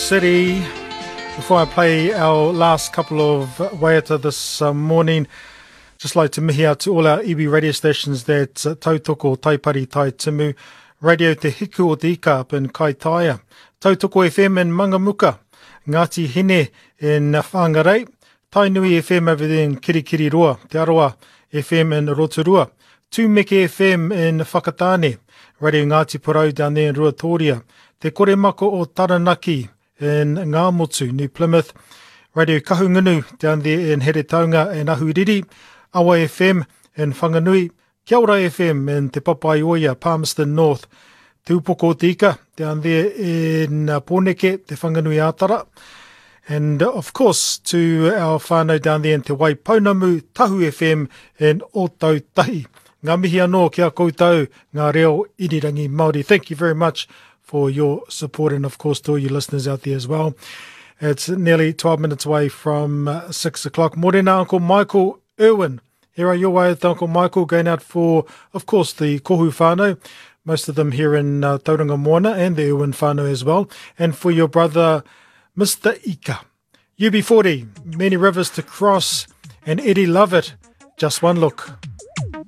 City. Before I play our last couple of waiata this uh, morning, just like to mihi out to all our iwi radio stations that uh, Tautoko, Taipari, Tai Timu, Radio Te Hiku o Te Ika up in Kaitaia, Tautoko FM in Mangamuka, Ngāti Hine in Whangarei, Tainui FM over there in Kirikiriroa, Te Arawa FM in Rotorua, Tūmeke FM in Whakatāne, Radio Ngāti Porou down there in Ruatoria, Te Koremako o Taranaki in Ngāmotu, New Plymouth, Radio Kahungunu down there in Heretaunga and Ahuriri, Awa FM in Whanganui, Kia Ora FM in Te Papaioea, Palmerston North, Te Upoko o Te Ika down there in uh, Pōneke, Te Whanganui Ātara, And of course to our whānau down there in Te Waipounamu, Tahu FM in Ōtautahi. Ngā mihi anō ki a koutou, ngā reo irirangi Māori. Thank you very much for your support and of course to all you listeners out there as well. It's nearly 12 minutes away from uh, 6 o'clock. Morena, Uncle Michael Irwin. Here are your way with Uncle Michael going out for, of course, the Kohu whānau, most of them here in uh, Tauranga Moana and the Irwin whānau as well, and for your brother, Mr. Ika. UB40, many rivers to cross, and Eddie Lovett, just one look.